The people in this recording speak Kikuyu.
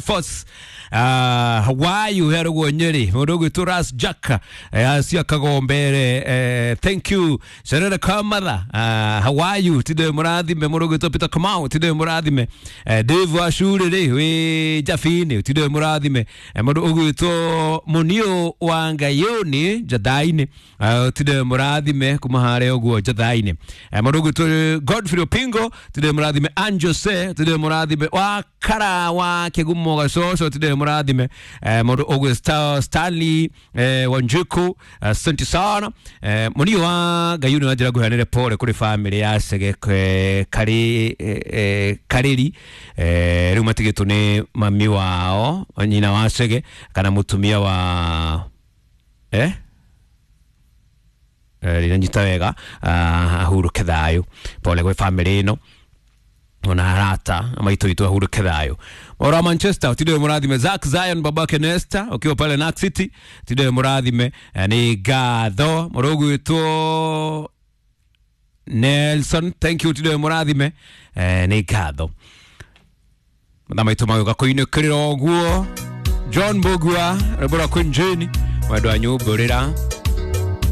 Force Hawaii uheragwo Nyeri mundu ugwitwo Ras Jack acio akagombere thank you Serere Kamatha Hawaii tinde murathime mundu ugwitwo Peter Kamau tinde murathime Dave Wacuri ri wi Jabini tinde murathime mundu ugwitwo Munio wa Ngayuni Jathaini tinde murathime kuma haria uguo Jathaini mundu ugwitwo Godfrey Opingo tinde murathime Anjose tinde murathime wa kara wa kigumo gacoco tinde murathime mundu ugwi Stanley Wanjiku asante sana munio wa Ngayuni wa njira nguheanire pole kuri family ya Chege kari Kariri riu matigitwo ni mami wao nyina wa Chege kana mutumia wa rinanyita wega ahuruke thayu pole gwi family ino ona arata maitå itå ahuruke thayå ora Manchester tinde mũrathime Zack Zion babake Nesta ukiwa pale Narc City tinde mũrathime nĩ ngatho mũrũgwĩtwo Nelson thank you tinde mũrathime nĩ ngatho mathaa maitũ magĩũka kũinũkĩrĩra ũguo John Mbugua rwĩmbo rwa Queen Jane mwendwa nyumbũrĩra.